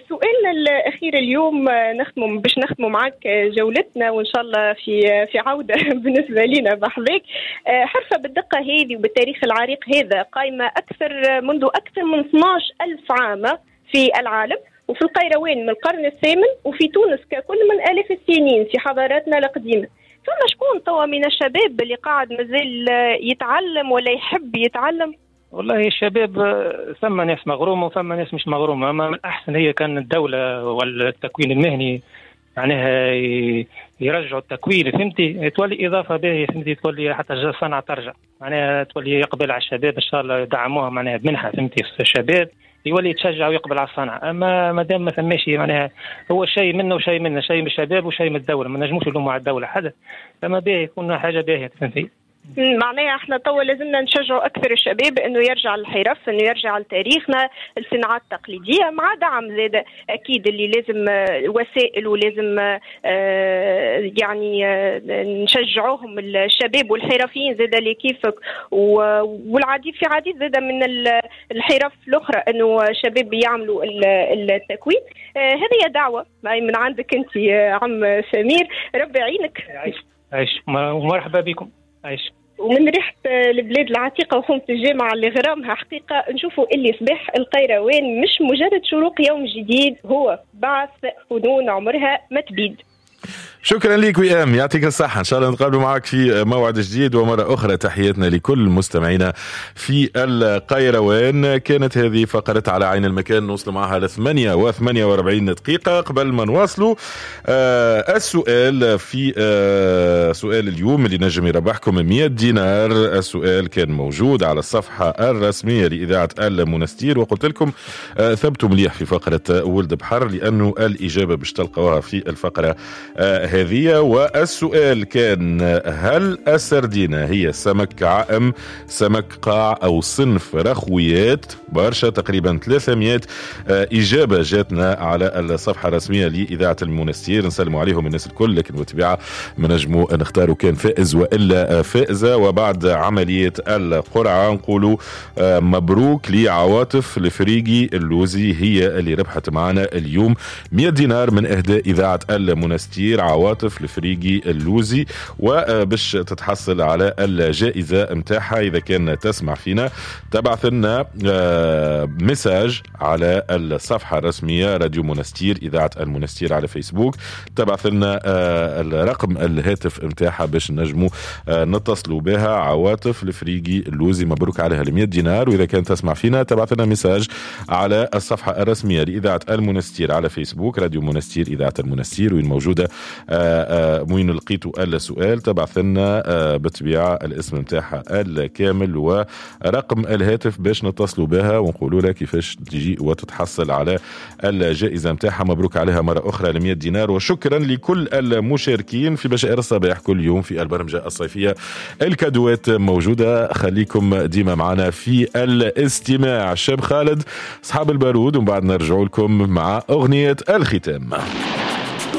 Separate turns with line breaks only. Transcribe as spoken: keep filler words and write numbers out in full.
سؤالنا الأخير اليوم نختم باش نختموا معك جولتنا وإن شاء الله في في عودة بالنسبة لنا بحذاك. حرفة بالدقة هذه وبالتاريخ العريق هذا قائمة أكثر منذ أكثر من اثناش ألف عام في العالم، وفي القيروان من القرن الثامن، وفي تونس ككل من آلاف السنين في حضاراتنا القديمة. فما شكون توا من الشباب اللي قاعد مازال يتعلم ولا يحب يتعلم؟
والله الشباب ثم ناس مغرومة وثم ناس مش مغرومة. أما من الأحسن هي كان الدولة والتكوين المهني معناها يرجعوا التكوين، فهمتي، تولي إضافة باهية، فهمتي، تولي حتى الصنعة ترجع، معناها تولي يقبل على الشباب إن شاء الله يدعموها معناها بمنحة، فهمتي، الشباب يولي يتشجع ويقبل على الصنعة. أما ما دام ما ثماش معناها هو شيء منه وشيء منه، شيء من الشباب وشيء من الدولة، ما نجموش نلوموا على الدولة حدا، فما باهي يكون حاجة باهية، فهمتي.
معناها احنا توا لازمنا نشجعوا اكثر الشباب انه يرجع للحرف، انه يرجع لتاريخنا، الصناعات التقليدية، مع دعم زاد اكيد اللي لازم وسائل، ولازم يعني نشجعوهم الشباب والحرفيين زاد اللي كيفك، والعديد في عديد زاد من الحرف الاخرى انه الشباب يعملوا التكوين. هذه دعوه من عندك انت عم سمير، ربي يعينك.
عيش عيش ومرحبا بكم. عيش.
ومن ريحة البلاد العتيقة وحومة الجامعة اللي غرامها حقيقة نشوفوا اللي صباح القيروان مش مجرد شروق يوم جديد، هو بعث فنون عمرها ما تبيد.
شكرا لك وئام، يعطيك الصحة، إن شاء الله نتقابل معك في موعد جديد. ومرة أخرى تحياتنا لكل مستمعينا في القيروان. كانت هذه فقرة على عين المكان، نوصل معها لثمانية وثمانية وأربعين دقيقة. قبل ما نواصلوا آه السؤال في آه سؤال اليوم اللي نجم يربحكم مئة دينار. السؤال كان موجود على الصفحة الرسمية لإذاعة المنستير، وقلت لكم آه ثبتوا مليح في فقرة ولد بحر لأنه الإجابة باش تلقوها في الفقرة آه هذه. والسؤال كان: هل السردينة هي سمك عائم، سمك قاع، أو صنف رخويات؟ برشا تقريبا ثلاثمئة إجابة جاتنا على الصفحة الرسمية لإذاعة المنستير. نسلم عليهم الناس الكل، لكن بالطبيعة ما نجموا نختاروا كان فائز وإلا فائزة. وبعد عملية القرعة نقولوا مبروك لعواطف الفريقي اللوزي، هي اللي ربحت معنا اليوم مئة دينار من إهداء إذاعة المنستير. عواطف الفريقي اللوزي، وباش تتحصل على الجائزة متاعها إذا كان تسمع فينا تبعث لنا message على الصفحة الرسمية راديو منستير إذاعة المنستير على فيسبوك، تبعث لنا الرقم الهاتف متاعها باش نجموا نتصلوا بها. عواطف الفريقي اللوزي مبروك عليها المئة دينار. وإذا كان تسمع فينا تبعث لنا message على الصفحة الرسمية لإذاعة المنستير على فيسبوك راديو منستير إذاعة المنستير، وين موجودة وين لقيتوا السؤال تبعث لنا بالطبيعة الاسم متاعها الكامل ورقم الهاتف باش نتصلوا بها ونقولوا لها كيفاش تجي وتتحصل على الجائزة متاعها. مبروك عليها مرة أخرى ل مئة دينار، وشكرا لكل المشاركين في بشائر الصباح كل يوم في البرمجة الصيفية. الكادوات موجودة، خليكم ديما معنا في الاستماع. شاب خالد أصحاب البارود، ومن بعد نرجع لكم مع أغنية الختام.